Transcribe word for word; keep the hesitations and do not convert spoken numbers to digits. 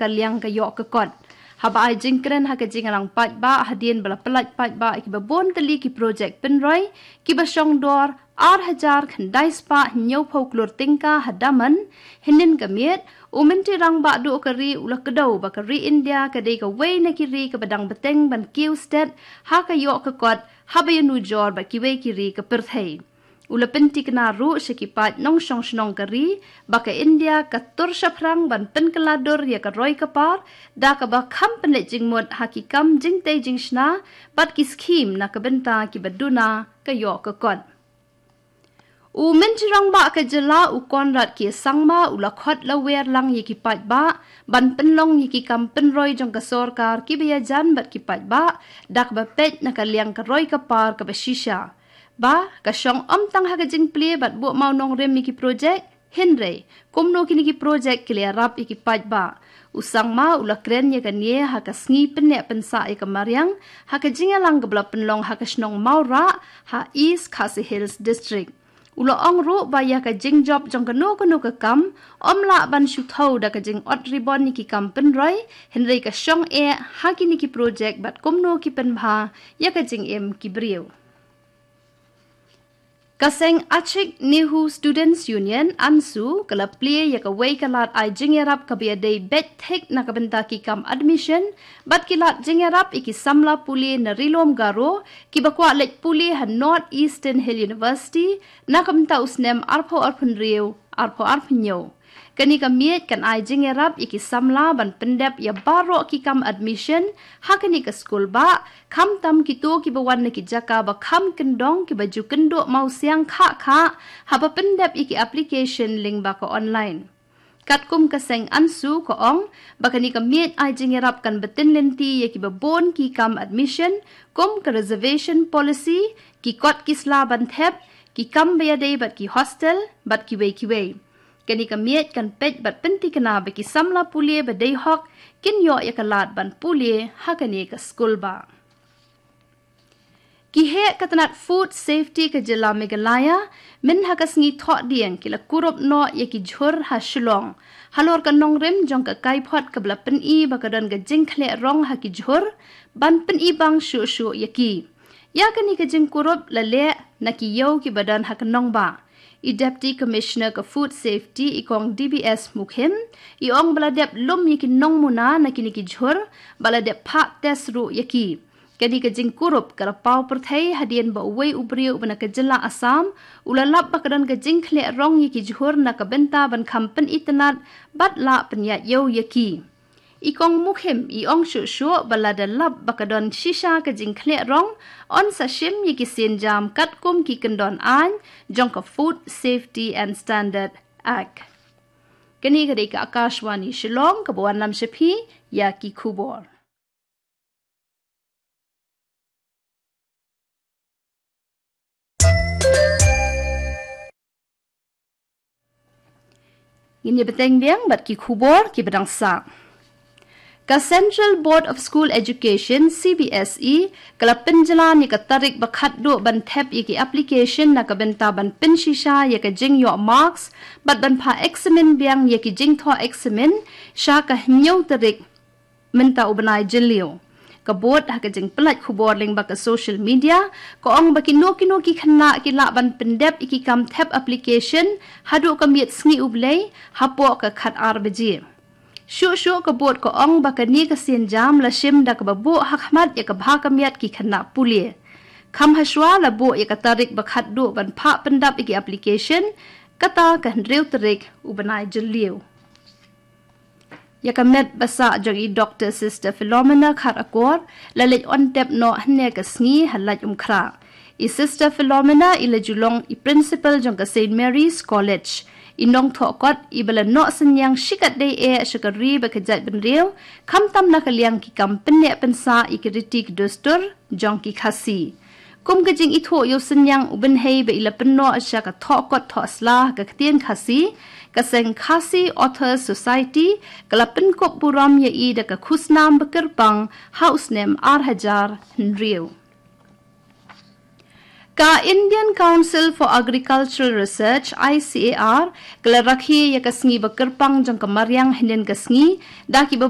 ka liang ka ïoh ka kot. Haba ai jingkren ha ka jingïalang paidbah hadien ba la pyllait paidbah ïa kiba bun tylli ki projek pynroi kiba shong dor ar hajar khyndai spah hynñiewphew klur tyngka ha Daman, hynnin ka miet, u Myntri Rangbah Duh ka ri u la kdew ba ka ri India ka dei kawei na ki ri kaba dang bteng ban kiew stet ha ka ïoh ka kot haba ïanujor bad kiwei ki ri ka pyrthei. U la pynthikna ruh sha ki paid nongshong shnong ka ri ba ka India ka tur shaphrang ban pynkylla dur ïa ka roi ka par da kaba kham pynleit jingmut ha ki kam jingtei jingshna bad ki skhim na ka bynta kiba duna ka ïoh ka kot. U Myntri Rangbah ka jylla u Conrad K Sangma u la khot la wer lang ïa ki paidbah ban pynlong ïa ki kam pynroi jong ka sorkar kiba ïajan bad ki paidbah da kaba peit na ka liang ka roi ka par kaba shisha. Ba ka shong ym tang ha ka jingplie bad buh mawnongrim ïa ki projek, hynrei kumno kine ki projek ki la ïarap ïa ki paidbah. U Sangma u la kren ïa kane ha ka sngi pynneh pynsah ïa ka mariang ha ka jingïalang kaba la pynlong ha ka shnong Mawrah ha East Khasi Hills District. U la ong ruh ba ïa ka jingjop jong kano kano ka kam ym lah ban shu thew da ka jingot ribon ïa ki kam pynroi, hynrei ka shong eh ha kine ki projek bad kumno ki pynbha ïa ka jingim ki briew. Ka seng Achik Nehu Students Union, ANSU, ka la plie ïa kawei ka lad ai jingïarap kaba ïadei beit thik na ka bynta ki kam admission bad ki lad jingïarap ïa ki samla pule na Ri Lum Garo kiba kwah leit pule ha North Eastern Hill University na ka bynta u snem arphew arphew hynriew, arphew arphew hynñiew. Kane ka miej kan ai jingïarap ïa ki samla ban pyndep ïa baroh ki kam admission ha kane ka skul bah, khamtam kito kiba wan na ki jaka ba kham kyndong kiba ju kynduh mawsiang khah khah haba pyndep ïa ki application lyngba ka online. Katkum ka seng ANSU ka ong ba kane ka miej ai jingïarap kan bteng lynti ïa kiba bun ki kam admission, kum ka reservation policy, ki kot ki sla ban thep, ki kam ba ïadei bad ki hostel bad kiwei kiwei. Kane ka miej kan peit bad pynthikna ba ki samla pule ba dei hok kin ïoh ïa ka lad ban pule ha kane ka skul bah. Ki heh ka tnat Food Safety ka jylla Meghalaya mynha ka sngi Thohdieng ki la kurup noh ïa ki jhur ha Shillong halor ka nongrim jong ka kaiphod kaba la pyni ba ka don ka jingkhleh rong ha ki jhur ban pyni bang shuh shuh ïa ki. Ïa kane ka jingkurup la leh na ki ïew kiba don ha ka nongbah. I Deputy Commissioner ka Food Safety i Kong D B S Mukhim i ong ba la dep lum ïa ki nongmuna na kine ki jhur bad la dep phah test ruh ïa ki. Kane ka jingkurup ka la paw pyrthei hadien ba uwei u briew uba na ka jylla Assam u la lap ba ka don ka jingkhleh rong ïa ki jhur na ka bynta ban kham pynitynnad bad lah pynïaid ïew ïa ki. I Kong Mukhim i ong shuh shuh ba lada lap ba ka don shisha ka jingkhleh rong, yn sa shim ïa ki sienjam katkum ki kyndon aiñ jong ka Food Safety and Standard Act. Kane ka dei ka Akashvani Shillong kaba wanlam sha phi ïa ki khubor. Ngin ïa bteng biang bad ki khubor kiba dang sah. Ka Central Board of School Education, C B S E, ka la pynjlan ïa ka tarik ba khatduh ban thep ïa ki application na ka bynta ban pynshisha ïa ka jingïoh marks bad ban phah eksamin biang ïa ki jingthoh eksamin sha ka hynñiew tarik mynta u bnai Jylliew. Ka Board ha ka jingpyllait khubor lyngba ka social media ka ong ba kino kino ki khynnah ki lah ban pyndep ïa ki kam thep application haduh ka miet sngi U Blei hapoh ka khatar baje. Shuh shuh ka Board ka ong ba kane ka sienjam la shim da kaba buh ha khmat ïa ka bha ka miat ki khynnah pule. Kham hashwa la buh ïa ka tarik ba khatduh ban phah pyndap ïa ki application, kata ka hynriew tarik u bnai Jylliew. Ïa ka met ba sah jong i Doctor Sister Philomena Kharakor la leit on tep noh hynne ka sngi ha Laitumkhrah. I Sister Philomena i la ju long i principal jong ka Saint Mary's College. I nongthoh kot iba la noh synñiang shikatdei eh sha ka ri bad ka jaitbynriew, khamtam na ka liang ki kam pynneh pynsah ïa ki riti ki dustur jong ki Khasi. Kum ka jingithuh ïa u synñiang u bynhei ba i la pynnoh sha ka thoh kot thoh sla ha ka ktien Khasi, ka seng Khasi Authors Society ka la pynkup burom ïa i da ka khusnam ba kyrpang ha u snem ar hajar hynriew. Ka Indian Council for Agricultural Research, I C A R, ka la rakhe ïa ka sngi ba kyrpang jong ka mariang hynnin ka sngi da kiba